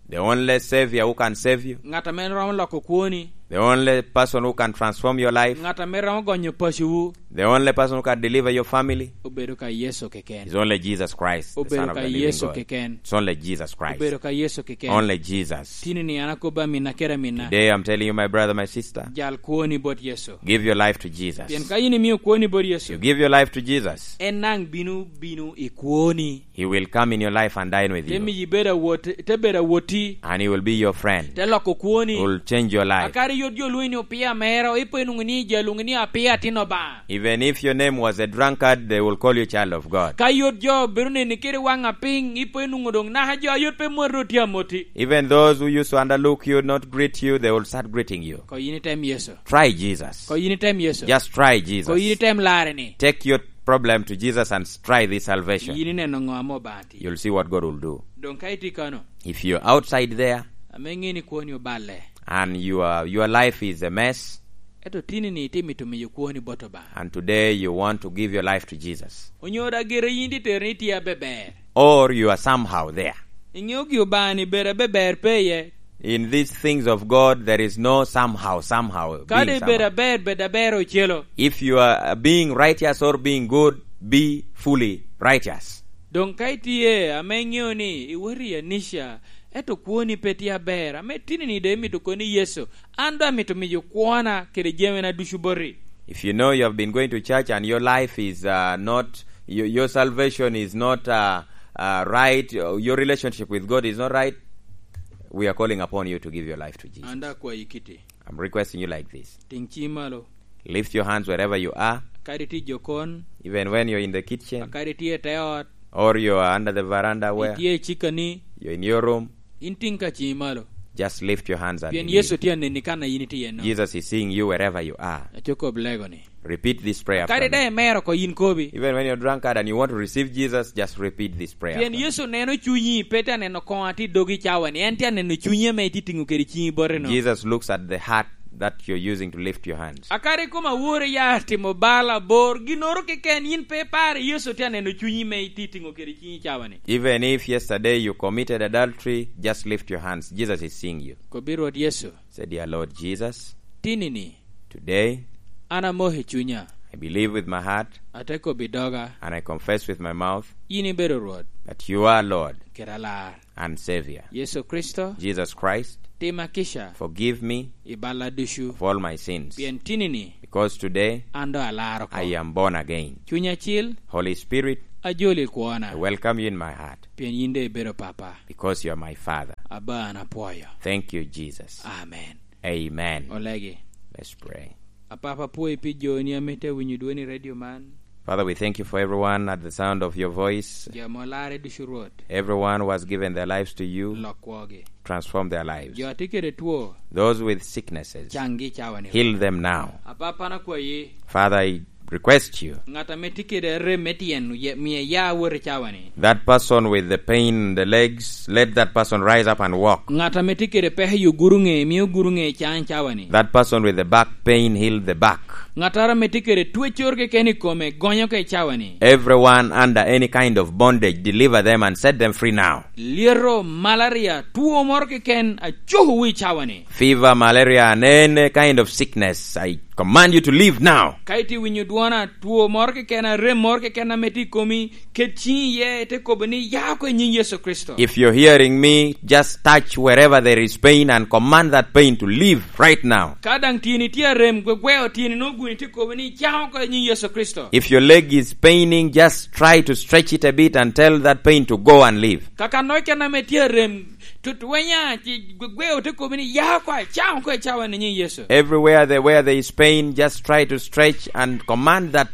The only Savior who can save you. Ŋat ame romo loko kwoni. The only person who can transform your life. Ŋat ame romo gonyo pacowu. The only person who can deliver your family. Obedo ka Yecu keken. Is only Jesus Christ, the Son of the living God. Obedo ka Yecu keken. It's only Jesus Christ. Obedo ka Yecu keken. Only Jesus. Tini ni an akobbi aminna kede aminna. Today I'm telling you, my brother, my sister. Jal kwoni bot Yecu. Give your life to Jesus. Pien ka yin imio kwoni bot Yecu. You give your life to Jesus. En daŋ bino, bino i kwoni. He will come in your life and dine with you. Te miyi bedo awot-, te bedo awotti. And he will be your friend. Te loko kwoni. He will change your life. Akadi yot jo lwonyi ni opia mero, ipo inwoŋo ni jo lwongi ni apia atin Obaŋa. Even if your name was a drunkard, they will call you child of God. Ka yot jo bedo neni kede waŋ apiny, ipo inwoŋo doŋ naka jo a yot pe moti tye amoti. Even those who used to underlook you, not greet you, they will start greeting you. Ko yin item Yecu. Try Jesus. Ko yin item Yecu. Just try Jesus. Ko yin item larre ni. Take your problem to Jesus and try this salvation. Yin ineno ŋo ame Obaŋa tye. You'll see what God will do. Doŋ ka itye kano. If you're outside there, ame iŋeo ni kwoni oballe. And your, your life is a mess. Ento tini ni itye mito miyo kwoni bot Obaŋa. And today you want to give your life to Jesus. Onyo daŋ gire yin itye tero ni itye abeber. Or you are somehow there. Iŋeo gi Obaŋa ni bedo abeber pe iye. In these things of God, there is no somehow, somehow, being somehow. Kadi bedo aber, bedo aber ocelo. If you are, uh, being righteous or being good, be fully righteous. Doŋ ka itye ame iŋeo ni iwot i anica, ento kwoni pe tye aber, ame tini ni doŋ imito kono ni Yecu, an doŋ amito miyo kwona kede jamina ducu boti. If you know you have been going to church and your life is, uh, not, your, your salvation is not, uh, uh, right, uh, your relationship with God is not right, we are calling upon you to give your life to Jesus. An daŋ akwayi kiti. I'm requesting you like this. Tiŋ ciŋi malo. Lift your hands wherever you are. Kadi itye i jokon. Even when you're in the kitchen. Kadi itye i te ot. Or you are under the veranda where. Itye i cikani. You're in your room. In tiŋ ka ciŋi malo. Just lift your hands and believe. Pien Yecu tye aneni kan a yin itye iye-no. Jesus is seeing you wherever you are. Aco kob lego ni. Repeat this prayer after me. Kadi daŋ imero oko yin kobi. Even when you're drunkard and you want to receive Jesus, just repeat this prayer after me. Pien Yecu neno cunyi, pe tye aneno koŋo a tye i dogi cawa-ni. En tye aneno cunyi ame itye tiŋo kede ciŋi bote-no. Jesus looks at the heart, that you're using to lift your hands. Akadi koma wore ya timo bal abor, ginnoro keken yin pe ipare, Yecu tye aneno cunyi me itye tiŋo kede cinyi cawa ni. Even if yesterday you committed adultery, just lift your hands. Jesus is seeing you. Kobbi Rwot Yecu. Say, "Dear Lord Jesus, Tinini, today an amoko i cunya, I believe with my heart, ate kobbi doga, and I confess with my mouth yin ibedo Rwot that you are Lord kede Alar. And Savior. Yecu Kricito, Jesus Christ, tima kica forgive me i balla ducu, of all my sins, pien tinini because today an doŋ alaro oko. I am born again. Cuny Acil, Holy Spirit, ajoli i kwona, I welcome you in my heart pien yin doŋ ibedo Papa. Because you are my Father. Abba, an apwoyo. Thank you, Jesus. Amen. Amen. Olegi. Let's pray. Apapa, apwoyi pi joni ame tye winyo dwoni i redio man. Father, we thank you for everyone at the sound of your voice. Jo ame olarre ducu, Rwot. Everyone who has given their lives to you, lok kwogi. Transform their lives. Jo a tye kede two, those with sicknesses, canggi i cawa ni. Heal them now. Apapa, an akwayi. Father, I request you. Ŋat ame tye kede rem me tyen, ye-, miye ya wot i cawa ni. That person with the pain in the legs, let that person rise up and walk. Ŋat ame tye kede peko i oguro ŋe, mi oguro ŋe caŋ i cawa ni. That person with the back pain, heal the back. Ŋattoro ame tye kede twecoro keken i kome, gonyo oko i cawa ni. Everyone under any kind of bondage, deliver them and set them free now. Lyeto, malaria, two moro keken, acuko wi i cawa ni. Fever, malaria, and any kind of sickness, I command you to leave now. Ka itye winyo dwona, two moro keken, arem moro keken ame tye i komi, ket ciŋi iye, ite kobo ni, "Ya oko i nyiŋ Yecu Kricito." If you're hearing me, just touch wherever there is pain and command that pain to leave right now. Ka daŋ tyeni tye arem, gwegweo tyeni nwoŋo guni tye kobo ni, "Ya oko i nyiŋ Yecu Kricito." If your leg is paining, just try to stretch it a bit and tell that pain to go and leave. Ka kannono keken ame tye arem, tutwenya, ci gwegweo te kobo ni, "Ya oko, caŋ oko i cawa ni nyiŋ Yecu." Everywhere there, where there is pain, just try to stretch and command that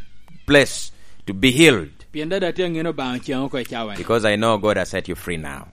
place to be healed. Pien dada tye aŋeno Obaŋa ocaŋ oko i cawa ni. Because I know God has set you free now.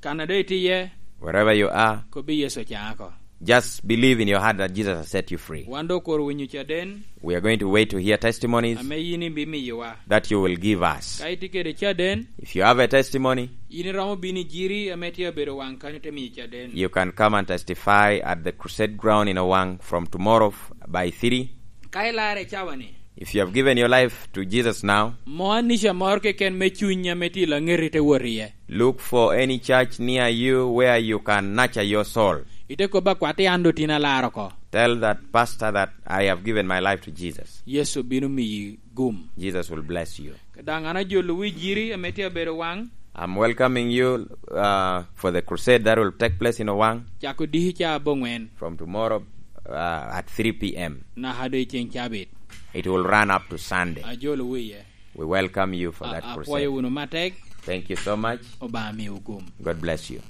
Kan a doŋ itye iye, wherever you are, kobbi Yecu ocaŋ oko. Just believe in your heart that Jesus has set you free. Wan doŋ okuro winyo caden. We are going to wait to hear testimonies. Ame yin ibimiyowa. That you will give us. Ka itye kede caden, if you have a testimony, yin iromo bino i Jiri ame tye abedo waŋ kanyo te miyo caden. You can come and testify at the crusade ground in Owang from tomorrow f-, by three. Ka ilarre i cawa ni. If you have given your life to Jesus now, mo anica moro keken me cuny ame tye i laŋeti te wot iye. Look for any church near you where you can nurture your soul. Ite kobba kwat i an do tin alar oko. Tell that pastor that I have given my life to Jesus. Yecu bino miyi gum. Jesus will bless you. Daŋ an ajolo wi Jiri ame tye abedo waŋ. I'm welcoming you, uh, for the crusade that will take place in Owang. Cako diki ca aboŋwen. From tomorrow, uh, at three p.m. Naka do i ceŋ cabit. It will run up to Sunday. Ajolo wiye. We welcome you for that crusade. A-, apwoyo wunu matek. Thank you so much. Obaŋa miwu gum. God bless you.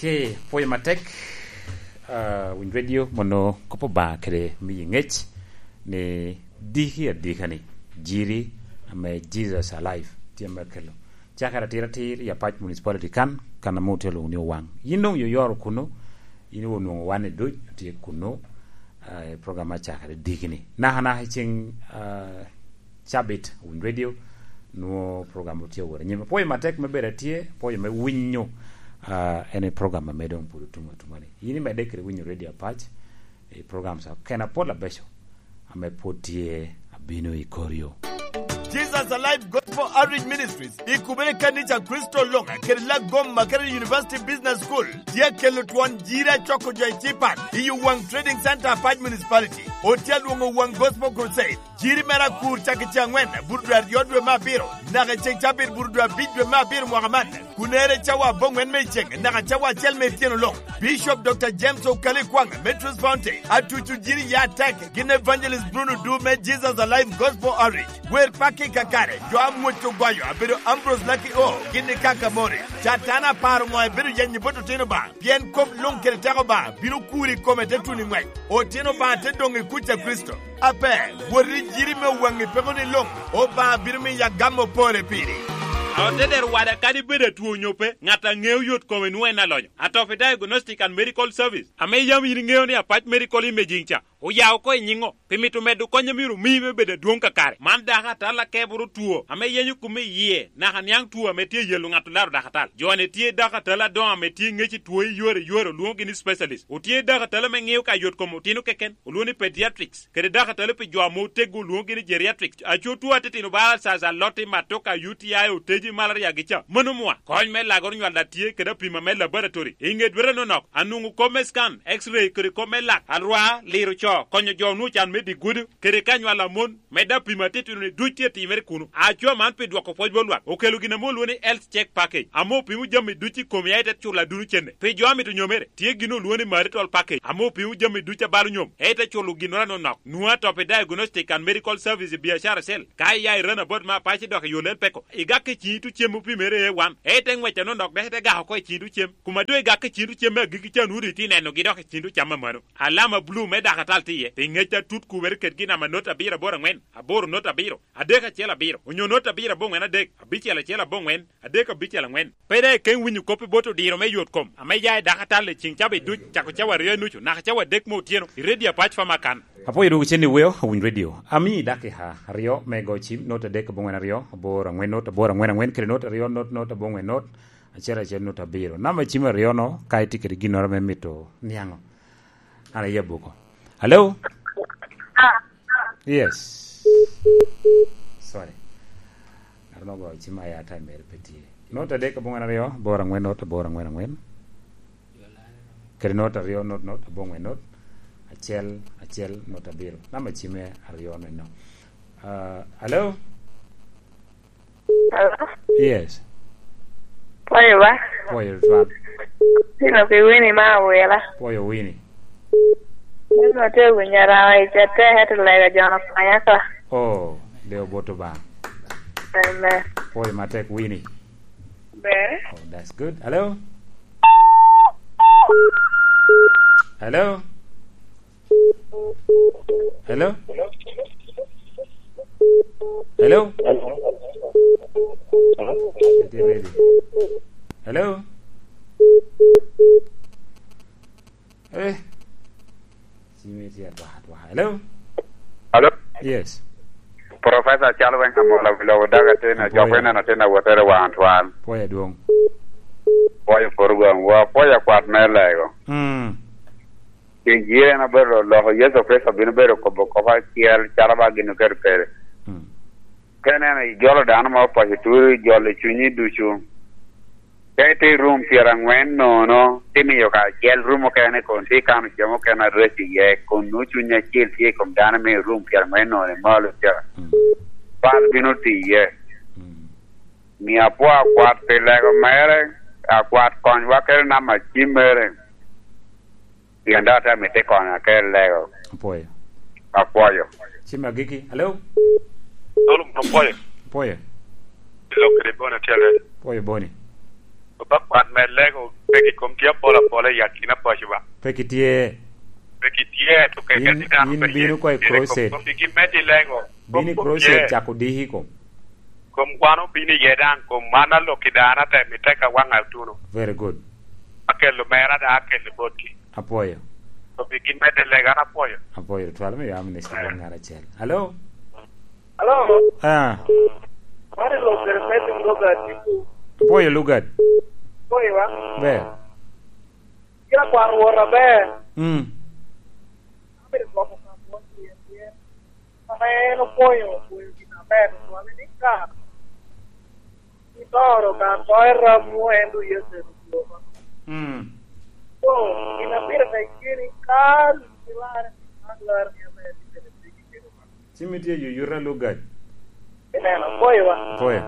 Ke pwoyo matek, ah, Winy Radio, mono kop Obaŋa kede miyi ŋec ni diki adika ni Jiri ame Jesus Alive tye me kelo. Cakere atir atir i Apac Municipality kan, kan ame otye lwoŋo ni Owaŋ. Yin doŋ yoyoro kuno, yin onwoŋo wan i duc tye kuno, ah, i program acakere diki ni. Naka naka i ceŋ, ah, cabit, Winy Radio, nwo program tye wot anyim. Apwoyo matek me bedo atye, apwoyo me winyo, ah, en i program ame doŋ pwod otum atuma ni. Yin imedde kede winyo Radio Apac, i program sa kena pol abeco, ame pwod tye abino i kor yo. Jesus Alive Gospel Outreach Ministries, i kubere kanica Kristo Loŋa, kede Lagoma kede University Business School, tye kelo twon Jiri acoko jo i Cipat, i Owaŋ Trading Center, Apac Municipality. Otye alwoŋo Owaŋ Gospel Crusade. Jiri mere akur cak i ceŋ aŋwen, bur dwe aryo dwe me abiro, naka i ceŋ cabit bur dwe abic dwe me abiro mwaka man, kun ere cawa aboŋwen me i ceŋ, naka cawa acel me ityeno luŋ. Bishop Doctor James Okali Kwaŋ me Truth Fountain, atuco Jiri ya atek, gin Evangelist Bruno Du me Jesus Alive Gospel Outreach, wer paki kakare, jo amwoc ogwayo abedo Ambrose Lucky O, gin i Kaka Morris. Catan aparo ŋo ebedo yenyo bot otino ba? Pien kop luŋ kede teko ba bino kuri i kome te tuno i ŋwec. Otino ba te doŋ i kuc a Kricito. Ape, wot i Jiri me Owaŋ i peko ni luŋ, Obaŋa bino miyo agamo pore piri. Otedero wada, kadi bed atwo onyo pe, ŋat a ŋeo yot kome nwoŋo en alonyo. Atopi Diagnostic and Medical Service, ame yam yin iŋeo ni Apac Medical Imaging ca, oya oko i nyiŋo, pi mito medo kony a myero omi me bedo adwoŋ kakare. Man dakatal akeboro two ame yenyo kome i yie, naka niaŋ two ame tye yelo ŋat olaro dakatal. Jo-ni tye dakatal adoŋo ame tye ŋec i two i yore yore, olwoŋogi ni specialist. Otye dakatal ame ŋeo ka yot kom otino keken, olwoŋo ni pediatrics, kede dakatal pi jo ame oteggo, olwoŋogi ni geriatrics. Aco two atitino bala Zaza, Loti, Matoka, U T I, Oteji, malaria gi ca. Mano mwa, kony me lagoro nywal a tye kede apima me laboratory. I ŋe dwete nonok, anwoŋo kop me scan, X-ray, kede kop me lak, alwar, liro co, konyo jo onwoŋo can me digudo, kede ka nywal a mon, medde apima atitino-ni duc tye timere kuno. Aco man pi dwoko pwoc bot lwak, okelo gin ame olwoŋo ni Health Check Package, ame opimo jami duc i komi, aye te culo aduno cene. Pi jo a mito nyomere, tye gin olwoŋo ni Marital Package, ame opimo jami duc a balo nyom, aye te culo ginnoro anonok. Nwoŋo Atopi Diagnostic and Medical Service i biacara cell, ka iya i Ranabot me Apac idok i yo Lel Peko, igak i ciŋi tucem opimere A one, aye te ŋwec anonok dok ite gak oko i ciŋi tucem. Kuma doŋ igak i ciŋi tucem me agikki ca, nwoŋo doŋ itye nenogi dok i ciŋi tucam amano. Alama bulu me dakatal tye iye, pi ŋec atut kubere kedgi, namba not abiro aboro aŋwen, aboro not abiro, adek acel abiro, onyo not abiro aboŋwen adek, abicel acel aboŋwen, adek abicel aŋwen. Pe daŋ ikeŋ winyo kop i bot odiro me yot kom ame ya i dakatal i ciŋ cawa duc, cako cawa aryo i nucu naka cawa adek me otyeno, i redio Apac Famakan. Apwoyo dwogo cen i weo, owiny redio. Ami dakika aryo me go cim, not adek aboŋwen aryo, aboro aŋwen not, aboro aŋwen aŋwen, kede not aryo not, not aboŋwen not, acel acel not abiro. Namba cim aryo-no, ka itye kede ginnoro me mito niaŋo. An aye abuko. Hello? Yes. Sorry. Ŋat mo ogoyo cim, aye time mere pe tye. Not adek aboŋwen aryo, aboro aŋwen not, aboro aŋwen aŋwen. Kede not aryo not not, aboŋwen not, acel acel not abiro. Namba cimme aryo neno. Ah, hello? Hello? Yes. Pwoyo ba? Pwoyo twal. Pino pi Winnie ma awila. Pwoyo Winnie. Meno atye winyo arawa i cete, ento lega jo-nu okonya oko. Oh, de oboto ba. Amen. Pwoyo matek, Winnie. Ber. Oh, that's good. Hello? Hello? Hello? Hello? Hello? Eh. Cime tye atwaka atwaka. Hello? Hello? Yes. Professor Charles Weng Amola, wi lobo daga tin, ajoko ineno tin awotere wan twal. Pwoyo adwoŋ. Pwoyo program, wa pwoyo akwat me lego. Mm. Pi jire en obedo loko Yecu Kricito bino bedo kobo kop acel, calo ba gin oketo kede. Mm. Ka ineno ijolo dano ma opaco turi, ijolo cunyi ducu. Ka itye i rum pyeraŋwen nono, tye miyo kacel rum okene kun tye kano cem okene areco iye, kun nwoŋo cuny acel tye i kom dano me i rum pyeraŋwen nono i malo ca. Mm. Pal bino tiye. Mm. Mio apwo akwat pi lego mere, akwat konywa kede namba cim mere. Pien dok atye amito konyo ake lego. Apwoyo. Apwoyo. Cim agikki. Hello? Solomon, apwoyo. Apwoyo. Ilok kede Boni atyere. Apwoyo Boni. Oba kwan me lego, peki kom tye apol apol i akina paco ba. Peki tye. Peki tye, to keken in, dano in pe bino tye ko i kede kom crusade. Kom peki med i lego. Bino i crusade, cako diki kom. Kom wan obino iye daŋ, kom man alok i dano ate mitte ka waŋ atuno. Very good. Akelo mera daŋ akelo botgi. Apwoyo. Obigi medde lega, an apwoyo. Apwoyo, twal me yam ni sibon ŋat acel. Hello? Hello? Ah. Mari lo kere pete Lugard. Apwoyo Lugard. Apwoyo wa? Ber. Kira kwaro wora ber. Mm. Abedo gwoko ka bwot tyen tyen. Ame en opwoyo, opwoyo gin aber, ocwale ni ka itoro ka to eramwu, en dong Yecu en okwoba. Mm. So, gin a pire tek tye ni ka ilarre, man larre ni aber, ni bene tye gin kede Obaŋa. Cim itye yuyuta Lugard. Ineno, apwoyo wa. Apwoyo.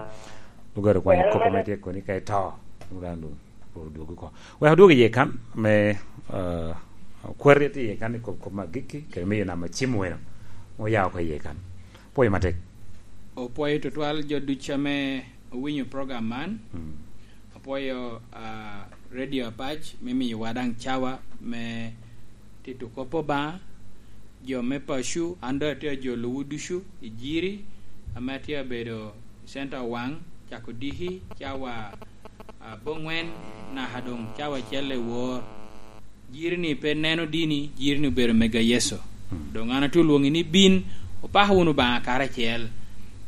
Lugard okwanyo kop ame tye koni ka ito. Lugard dwogo oko. Wek odwog iye kan me, ah, kwari tye iye kan i kop, kop me agikki, kede miyo namba cim weno. Oya oko iye kan. Pwoyo matek. Opwoyo tutwal jo ducu ame owinyo program man. Mm. Apwoyo, ah, Radio Apac me miyowa daŋ cawa me tito kop Obaŋa. Jo me paco, an doŋ atye ajolowu ducu i Jiri, ame atye abedo i Center Owaŋ, Cako diki cawa aboŋwen naka doŋ cawa acel i wor. Jiri-ni pe neno dini, jiri-ni obedo mega Yecu. Mm. Doŋ an atye olwoŋi ni bin, opako wunu Obaŋa karacel.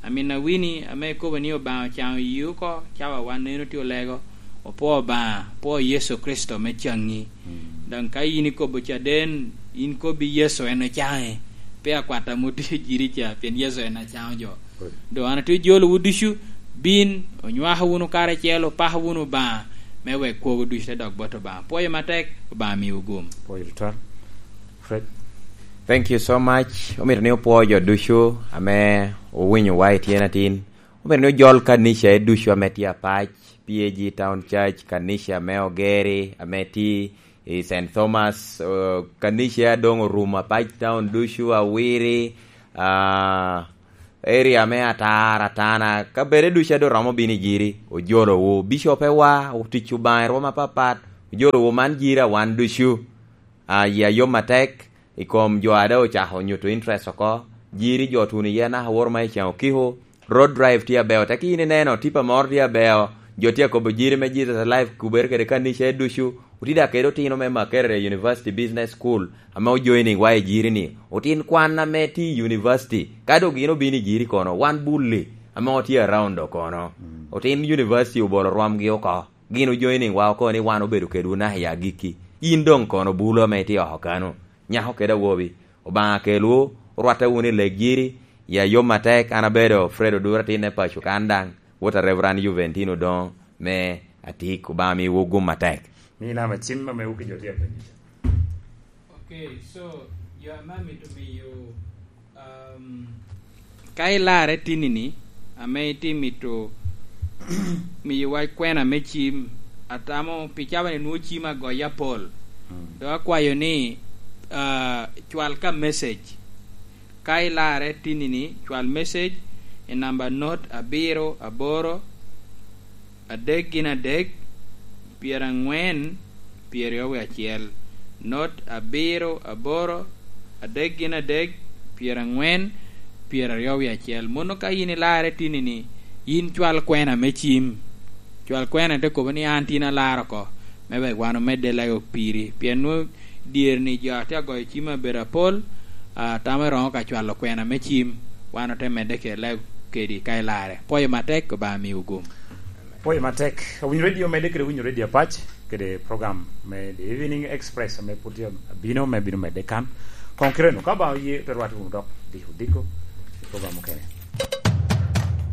Amin awini ame ikobo ni Obaŋa ocaŋo yi oko, cawa wan neno tye olego, opwoo Obaŋa, opwoo Yecu Kricito me caŋi. Mm. Daŋ ka yin ikobo caden, yin kobbi Yecu en ocaŋe. Pe akwat ame otye jiri ca, pien Yecu en acaŋo jo. Good. Doŋ an atye jolowu ducu, bin, onywako wunu karacel, opako wunu Obaŋa, me wek kwogo ducu te dok bot Obaŋa. Pwoyo matek, Obaŋa miwu gum. Pwoyo tutwal. Fred. Thank you so much. Omito ni opwo jo ducu ame owinyowa i tyen atin. Omito ni ojol kanica e ducu ame tye apac, P A G Town Church, kanica me Ogeri, ame tye i Saint Thomas, eh, kanica a doŋ orumo apac town ducu, Awiri, ah, area me Atar, Atana, kabedo ducu a doŋ romo bino i jiri, ojolowu. Bicopewa, otic Obaŋa i rwom apapat, ojolowu man jiri a wan ducu. Ah, yia yom atek, i kom jo a doŋ ocako nyuto interest oko, jiri jo otuno iye anaka woro ma i Can Okiko, road drive tye abeo, teki yin ineno, tipa moro tye abeo, jo tye akobo jiri me Jesus Alive, kubere kede kanica e ducu, otye dok kede otino me Makerere University Business School, ame ojoining wa i jiri-ni. Otin kwan ame tye i university, ka doŋ gin obino i jiri kono, wan bulli, ame otye around do kono. Mm. Otin university obolo rwomgi oko. Gin ojoining wa oko ni wan obedo kedwu naka i agikki. Yin doŋ kono bulo ame itye oko kano. Nyako kede awobi, Obaŋa kelwu, orwatte wunu i legiri, ya yom atek, an abedo Fred Odura, atinne paco kan daŋ, wot a Reverend Juventino Odoŋo me Atik, Obaŋa miwu gum atek. Mi nama cim ame wuki jo tye apenyo ca. Okay, so, jo ame amito miyo, um, ka ilarre tinni-ni, ame itye mito miyowa kwena me cim, atamo pi cawa-ni nwoŋo cim agoye apol. Mm. Dok akwayo ni, ah, cwal ka message. Ka ilarre tinni-ni, cwal message i namba not abiro aboro, adek gin adek, pyerangwen, pyeraryo wie acel, not abiro aboro, adek gin adek, pyerangwen, pyeraryo wie acel. Mono ka yin ilarre tinni-ni, yin cwal kwena me cim. Cwal kwena te kobo ni an tin alar oko, me wek wan omedde lego piri. Pien nwoŋo dyerni jo a tye agoyo cim abedo apol, ah, tamo eroŋo ka cwalo kwena me cim, wan ote medde kede lego kedi ka ilarre. Pwoyo matek, Obaŋa miwu gum. Pwoyo matek. Owinyo redio medde kede winyo redio apac, kede program me The Evening Express ame pwod tye abino, me bino medde kan. Koŋ kite-nu, ka Obaŋa oye, te rwate wunu dok diko diko i program mukene.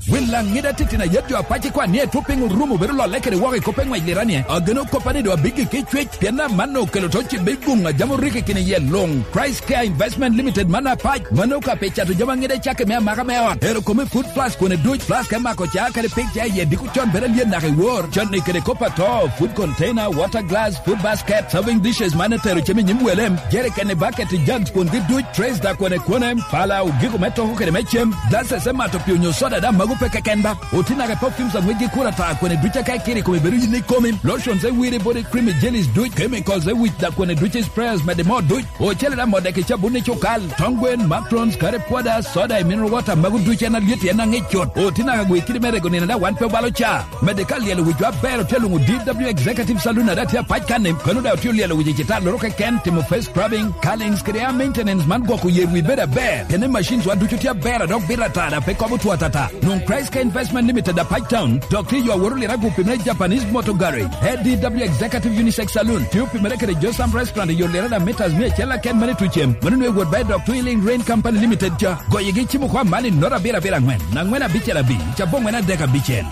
Wil Laŋida titino ayet jo apac i kwan ni etwop piny orumo bedo lolle kede woko i kop eŋwec liranie. Ageno koppa ni doŋ abiggi ki cwec, pien amanno okelo to cibbe i guŋ a jam orikki kine iye luŋ. Christ Care Investment Limited man apac, mano ka pe cato jami aŋida i cakke me amaka me ot. Ero kome food plus kwene duc, plus ka imako ca kadi pik ca iye diko con bedo alyet naka i wor. Con ni kede kop ato, food container, water glass, food basket, serving dishes man etero cem i nyim wele, jerikeni, baketi, jugs kwongi duc, trays da kwene kwene, pala, ogiko me toko kede me cem, glasses me mato pii onyo soda daŋ mago pe keken ba. Otinake perfumes aŋwec gi kura ta kwene duc aka ikiri kome bedo yin ikomi, lotions e wiri body cream jellies duc, chemicals e wic da kwene duc sprayers mede mo duc, ocele da modeki cabun i cukal, tong gwen, matrons, kare pwada, soda e mineral water mago duc en alyet en aŋic cut. Otinake gwe kidi me rego nino da wan pe obalo ca. Mede ka lyelo wicwa aber otye alwoŋo D W Executive Saloon a daŋ tye apac kanni, kano daŋ otye olyelo wic i citalloro keken, timo face scrubbing, curlings kede hair maintenance man gwoko yer wi bedo aber. Kene machines wa ducu tye aber a dok bito ata daŋ pe kobo two atata. Nwoŋ Christ Care Investment Limited apac town, dok tye yo aworo lira gupi me Japanese Motor Garage. A D W Executive Unisex Saloon tye opimere kede Josam Restaurant i yo lira daŋ meters mia acel aken mane tucem. Mano nwe wot ba i dok Twilling Rain Company Limited ca. Goyigi cimo kwa mali not abiro abiro angwen, angwen abicel abic, cabo angwen adek abicel.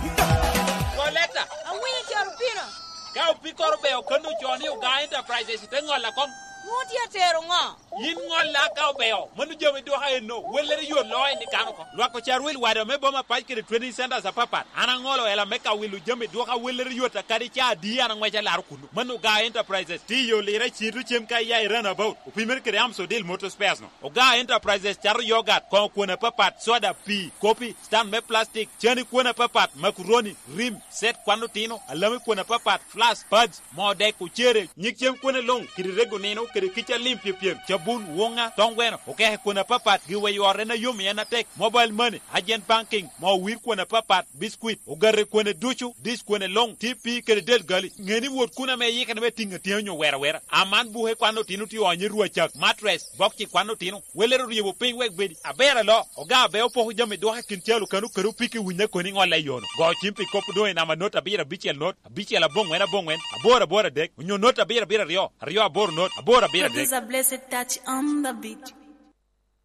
Koleta. Awinyo coro pino. Ka opikoro be okanno co ni Ogaa Enterprises te ŋolla kom. Nwoŋo tye atero ŋo? Yin ŋolla ka obeo, mano jami dwoka enno, wellere yo loo en i kano oko. Lwak ocarwil wada me boma pac kede training centers apapat. An aŋolo ela me ka wilo jami dwoka wellere yot a kadi ca adi an aŋweco alaro kuno. Mano Ogaa Enterprises, tye yo lira i Cito cem ka iya i runabout, opimere kede Amsodil Motor Spares no. Ogaa Enterprises cato yogat, koŋo kwon apapat, soda, pii, kopi, stand me plastic, cani kwon apapat, makuroni, rim, set kwan otino, alami kwon apapat, flask, pads, moo dek, ocere, nyig cem kwone luŋ, kede rego nino, kede kica lim pyepyem, cabun, woŋa, toŋ gweno, okeke kwon apapat, giweyo ot en a yom i en atek, mobile money, agent banking, moo wir kwon apapat, biscuit, ogate kwone ducu, dish kwone luŋ, T P kede del gali. Ŋe ni wot kun ame iyikere me tiŋ atina onyo wera wera. Aman buke kwan otino tye onyo i rwacak, mattress, bokci kwan otino. Welere oryebo piny wek bedi aber alo, oga abe opoko jami dwoko i kin calo kano kede opiki winyo akoni ŋolle i yono. Go cim pi kop doŋ i namba not abiro abicel not, abicel aboŋwen aboŋwen, aboro aboro adek, onyo not abiro abiro aryo, aryo aboro not, aboro abiro adek. Producer Blessed Touch on the beat.